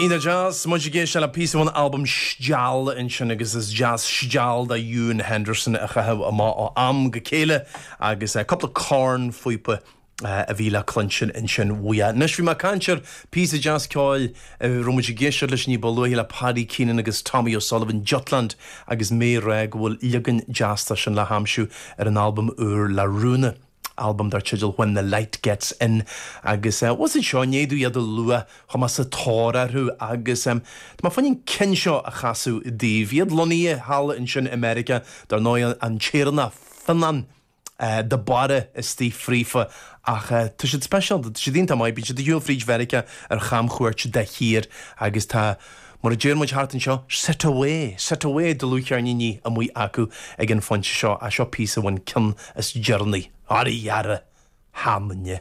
Iontach deas, muid ag éisteacht le píosa ón albam Steall ansin agus is deas steall de Ewan Henderson a chaitheamh amach ó am go chéile agus cúpla cornphíopa a bhí le cluinstin ansin uaidh. Anois bhí mé ag caint ar phíosa deas ceoil a raibh muid ag éisteacht leis ní ba luaithe le Paddy Keenan agus Tommy O'Sullivan, Jutland agus mé ag rá go bhfuil leagan deas de sin le haimsiú ar an albam úr le Rúna. albam dar teideal When the Light Gets In agus bhuel anseo i ndiaidh domh iad a lua chuaigh mé sa tóir orthu agus tá mé fá choinne an ceann seo a chasadh daoibh. Iad lonnaithe thall ansin i Meiriceá, dar ndóigh an tÉireannach Fionnán de Barra istigh fríofa ach tá siad speisialta, tá siad iontach maith, bíonn siad ar shiúl fríd Mheiriceá ar chamchuairt de shíor agus tá, mar a deir muid thart anseo, set away, set away dlúthcheirníní amuigh acu ag an phointe seo, ach seo píosa ón ceann is deireanaí, Araidhe, sheanduine.